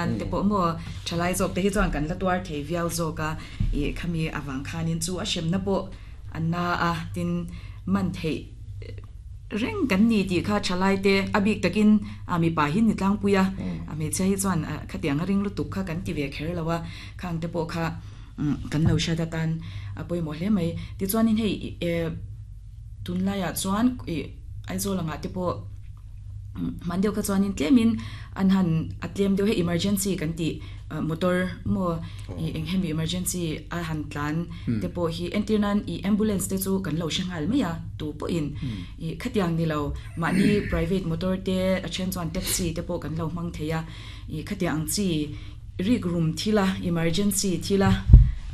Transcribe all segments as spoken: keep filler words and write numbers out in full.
hian te pawh maw thalai zawk te hi chuan kan la tuar thei viau zawk a ih khami awang khanin chu a hremna pawh an na a tin man theih reng kan ni tih kha thalai te a bik takin a mipa hin ni tlangpui a a hmeichhia hi chuan khatiang a ring lutuk kha kan ti ve kher lo a khang te pawh kha kan lo hriat atan a pawimawh hle mai tichuanin hei tunlaiah chuan ih Aizawl angah te pawh hman deuh kha chuanin tlemin an han a tlem deuh hei emergency kan tih motor maw ih eng hemi emergency a han tlan te pawh hi entir nan ih ambulance te chu kan lo hre nghal mai a tu pawhin ih khatiang ni lo mahni private motor te a then chuan taxi te pawh kan lo hmang thei a ih khatiang ang chi rik rum thila emergency thila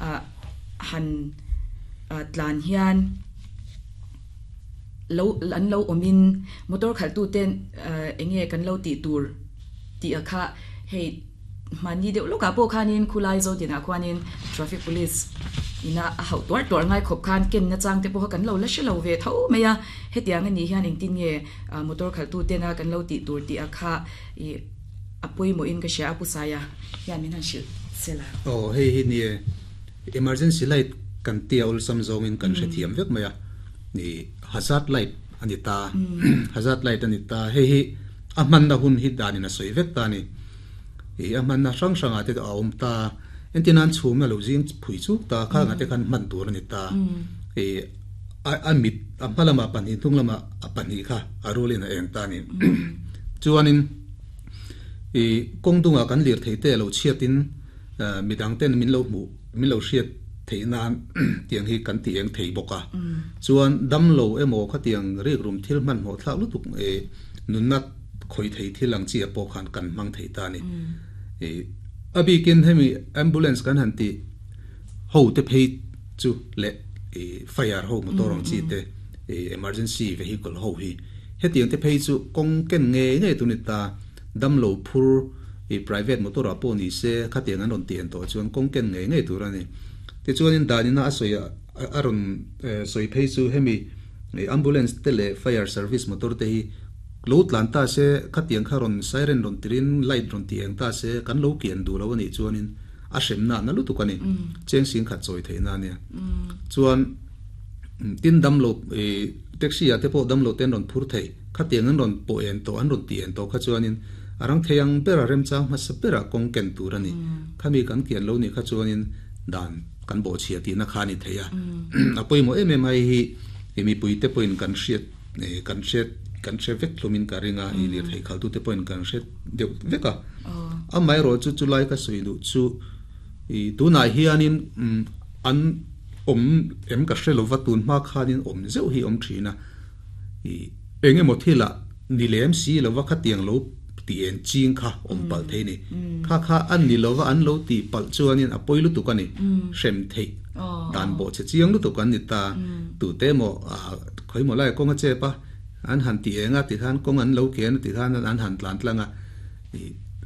ah han tlan hian lo an lo awmin motor khalh ten enge kan lo tih tur tih a kha hei mahni deuh lawkah pawh khanin khulai zo tinah khuanin traffic police ina a hauh tuar tuar ngai khawp khan ken na chang te pawh kha kan lo la hre lo ve tho mai a hetiang ani hian engtin nge motor khalh tu tena kan lo tih tur tih a kha ih a pawimawh in ka hria a pu saia hian min han hrilh sela. Oh hei hi ni emergency light kan tia ulsam zawngin kan hre thiam vek mai a ni hazard light ani ta hazard light ani ta hei hi a hman na hun hi danin a sawi vek ta ni i a hman na hrang hranga te a awm ta entinan chhum na lo zing phui chuk ta kha nga te khan hman tur ani ta i a mit a hmalama pahnih hnung lama a pahnih kha a rulin a eng ta ni chuanin i kawng dunga kan lir thei te lo chhiatin midang ten min lo hmu min lo hriat thei nan tiang hi kan ti eng thei bawk a chuan dam lo emaw kha tiang rik rum thil hman hmuh thlak lutuk e nunna khoi thei thil ang chi a pawh khan kan hmang thei ta ni e abikin hemi ambulance kan han ti ho te phei chu le e fire ho motor ang chi te e emergency vehicle ho hi hetiang te phei chu kawng ken nge nge tu ni ta dam lo phur e private motor a pawh ni se khatiang an rawn ti en tawh chuan kawng ken nge nge tur ani ti chuanin danina a sawi a rawn sawi phei chu hemi ambulance te leh fire service motor te hi lo tlan ta se khatiang kha rawn siren rawn tirin light rawn ti eng ta se kan lo kian du lo ani chuanin a hremna na lutuk ani cheng sing khat chawi theina ania chuan tin dam lo e taxi a te pawh dam lo ten rawn phur thei khatiang an rawn pawh en tawh an rawn ti en tawh kha chuanin arang theiang bera remchang hmasa bera kawng ken tur ani khami kan kian lo ni kha chuanin dan kan bo chhia ti na kha ni theia a pawimawh em em ai hi mi pui te pawhin kan hriat kan hriat kan hre vek hlumin ka ringa i lir thei khal tu te pawhin kan hriat deuh vek a amai ro chu chulai ka sawi du chu i tunah hianin an om em ka hre lova tun hma khanin om zeuh hi om thina i engemaw thila ni lem si lova khatiang lo ti en ching kha om pal thei ni kha kha an ni lova an lo ti pal chuanin a poi lutuk ani hrem thei dan bo che chiang lutuk an ni ta tu te mo a khoi mo lai kong a che pa an han ti enga ti khan kong an lo kian ti khan an han tlan tlanga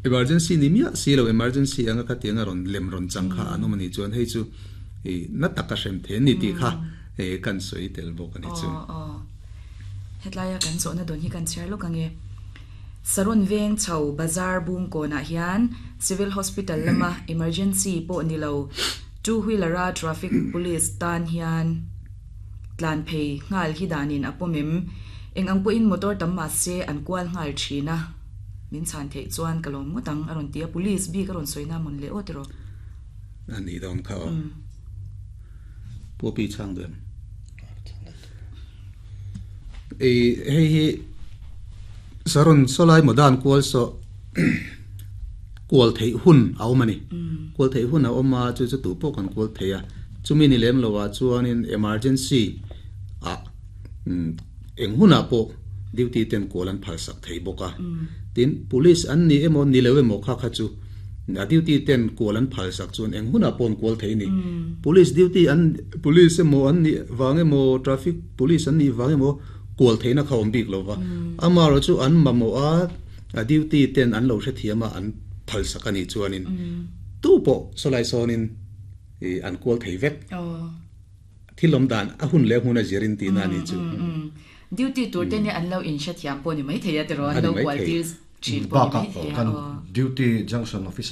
emergency ni mia si lo emergency anga kha tianga ron lem ron chang kha anu mani chuan hei chu i na taka hrem the ni ti kha e kan soi tel bok ani chu. Hetlaya kan zo na don hi kan chher lo kange Saron Veng chho bazar bung ko na hian Civil Hospital lama emergency po nilo two wheeler a traffic police tan hian tlan phei ngal hi danin apomem eng ang po in motor tam ma se an kwal ngal thina min chan thei chuan kalom ngotang aron tia police bi karon soina mon le otro ani don kha po pi chang den e hei hi saron solai modan kwal so kwal thei hun a awm ani kwal thei hun a awm a chu chu tu pawh kan kwal thei a chumi ni lem lowa chuanin emergency a eng huna pawh duty ten kwal an phal sak thei bawk a tin police an ni emaw ni lo emaw kha kha chu a duty ten kwal an phal sak chuan eng huna pawn kwal thei ni police duty an police emaw an ni wang emaw traffic police an ni wang emaw kwal theina kha awm bik lova amaro chu an mamo a a duty ten an lo hre thiama an phal sak ani chuanin tu pawh solai sawnin i an kwal thei vek thilom dan a hun le huna zirin ti na ni chu. Duty tur te ni an lo in hre thiam pawh ni mai thei a tiraw an lo kwal tir thin pawh ni mai thei a. Duty junction officer.